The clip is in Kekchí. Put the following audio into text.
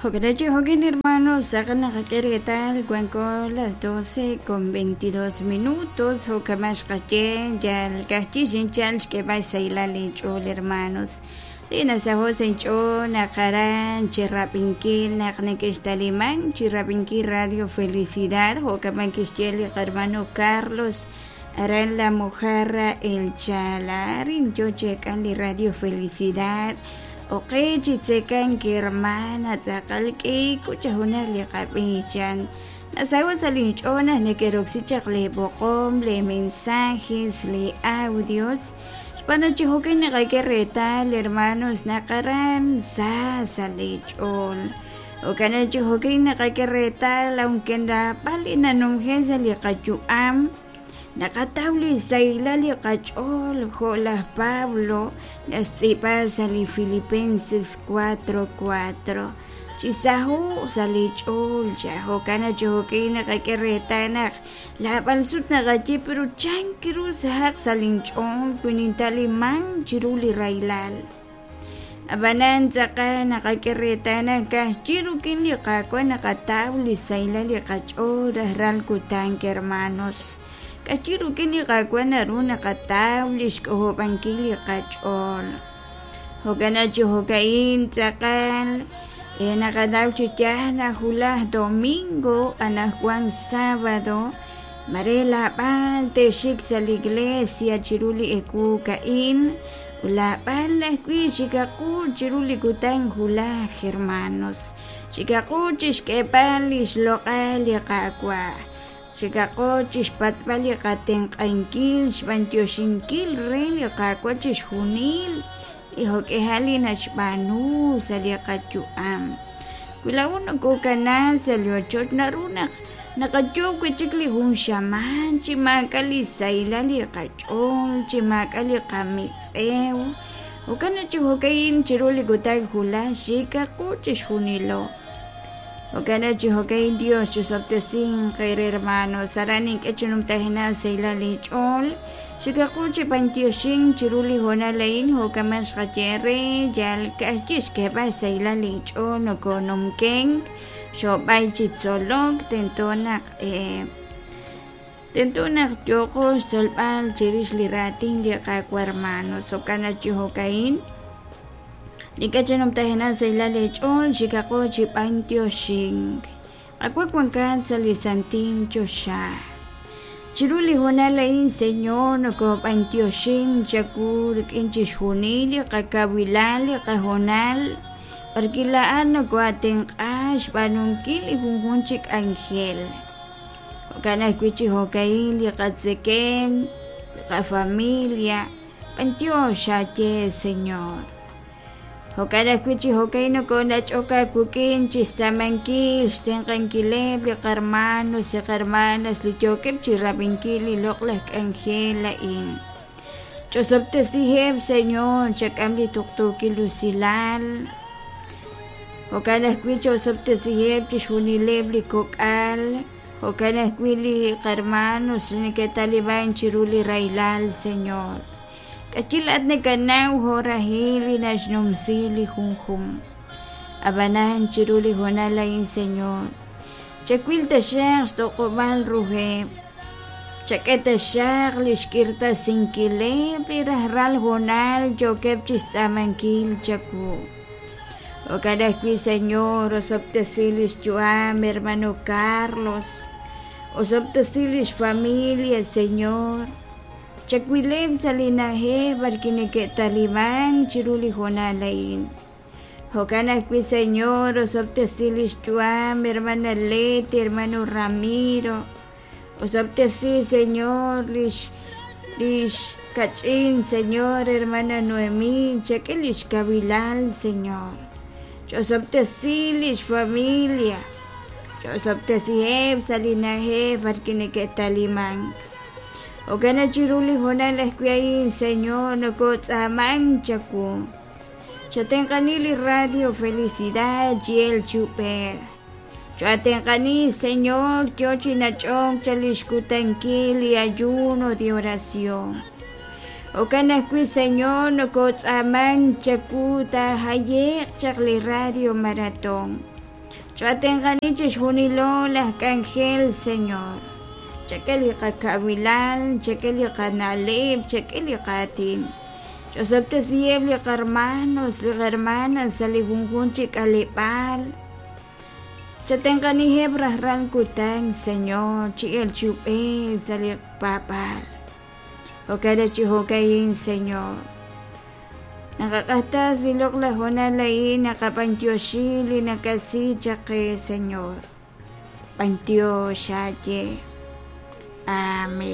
Jo'kan jo'kin hermanos, naqak'e reetal wanko las 12:22 minutos jo'kaman xqaye yal ka'ajchi xinchal xk'eeb'al xsahilal inch'ool hermanos. Li nasaho' sa' inch'ool naq aran chirab'inkil naq neke'xtaliman chirab'inkil Radio Felicidad jo'kaman kixye li qarmano Carlos aran La Mojarra El Chala arin yo chek'an li Radio Felicidad oqe chi tzekan hermana tz'aqal k'iku chajunaj li qab'ichan nasaho' sa' linch'ool naq neke'roksi chaq li b'oqom li mensajes li audios xb'aan chi jo'kan naqak'e reetal hermanos naq aran sa sa' li ch'ool jo'kan chi jo'kan naqak'e reetal aunque naab'al li nanumje sa' li qayu'am naqataw li sahilal li qach'ool jo' laj Pablo naxtz'iib'a sa' li Filipenses 4:4 chisaho' sa' li ch'ool cha jo'kan chi jo'kin naqak'e reetal naq laab'al sut naqaye pero chank ru sahaq sa' linch'ool wi nintaliman chiru li rahilal ab'anan tz'aqal naqak'e reetal naq ka'ajchi rik'in li Qaawa' naqataw li sahilal li qach'ool rajlal kutan hermanos k'achi rik'in li Qaawa' naru naqataw li xk'ojob'ankil li qach'ool jo'kan chi jo'ka'in tz'aqal naqanaw chi yaal naq wulaj domingo anaqwan sábado mare laab'al te'xik sa' li iglesia chiru li ewu ka'in laab'al ajwi' xikaqu chiru li kutan wulaj hermanos xikaqu chixk'eeb'al li xloq'al li Qaawa' xikaqu chixpatz'b'al li qatenq'ankil xb'antioxinkil re li Qaawa' chixjunil li jo'k'ejal li naxb'aanu sa' li qayu'am wi laa'u nokokana sa' li ochoch naru naq naqayoob' wi' chik li jun xamaan chi maak'a' li sahilal li qach'ool chi maak'a' li qamitz'ew jo'kan naq chi jo'ka'in chiru li kutan wulaj xikaqu chixjunilo jo'kan naq chi jo'ka'in Dios chusob'tesinq eere hermanos aran nink'e chi numtajenaq sahilal inch'ool xikaqu chi b'antioxink chiru li hoonal a'in jo'kaman xqaye re yal ka'ajchi xk'eeb'al xsahilal inch'ool nokonumkenk xob'ay chi tzolok tento naq yooqo xtzolb'al chirix li raatin li Qaawa' hermanos jo'kan naq chi jo'ka'in nink'e chi numtajenaq sahilal eech'ool xikaqo chi b'antioxink Qaawa' wankat sa' li santil choxa chiru li hoonal a'in Señor nokob'antioxink chawu rik'in chixjunil li qakawilal li qahoonal b'arwi' laa'at nokoatenq'a xb'aanunkil li junjun chi k'anjel jo'kan ajwi' chi jo'ka'in li qatzekem li qafamilia b'antiox aaye Señor jo'kan ajwi' chi jo'ka'in nokonach'ok aawik'in chixtz'aamankil xtenq'ankileb' li qarmanos li qarmanas li yookeb' chirab'inkil li loq'laj k'anjel a'in ch'osob'tesiheb' Señor chak'am li tuqtuukil usilal jo'kan ajwi' ch'osob'tesiheb' chixjunileb' li kok'al jo'kan ajwi' li qarmanos li neke'taliban chiru li rahilal Señor k'achi laat nakanaw jo'rahil li naxnumsi li junjun ab'anan chiru li hoonal a'in Señor chawil taxaq xtoq'ob'al ruheb' chak'e taxaq li xk'irtasinkileb' li rajlal hoonal yookeb' chixtz'aamankil chawu jo'kan ajwi' Señor osob'tesi li xyu'am hermano Carlos osob'tesi li xfamilia Señor chawileb' sa' li na'ajej b'arwi' neke'taliman chiru li hoonal a'in jo'kan ajwi' Señor osob'tesi li xyu'am hermana Leti hermano Ramiro osob'tesi Señor lix kach'in Señor hermana Noemí chak'e li xkawilal Señor ch'osob'tesi li xfamilia ch'osob'tesiheb' sa' li na'ajej b'arwi' neke'taliman jo'kan naq chiru li hoonal ajwi' a'in Señor nokotz'aaman chawu chatenq'ani li Radio Felicidad chiel chub'ej choatenq'ani Señor yo chi nach'ok cha li xkutankil li ayuno de oración jo'kan ajwi' Señor nokotz'aaman chawu taajaye'q chaq li Radio Maratón. Chatenqani chixjunilo laj k'anjel, Señor. Chak'e li qakawilal, chak'e li qana'leb', chak'e li qaatin. Ch'osob'tesiheb' li qarmanos, li qarmanas sa' li junjunq chi k'aleb'aal. Chatenqaniheb' rajlal kutan, Señor, chi elk chi ub'ej sa' li paab'aal. Jo'kan chi jo'ka'in, Señor. Naqaq'axtas li loq'laj hoonal a'in, naqab'antioxi li nakasi chaq qe, Señor. B'antiox aaye. Amén.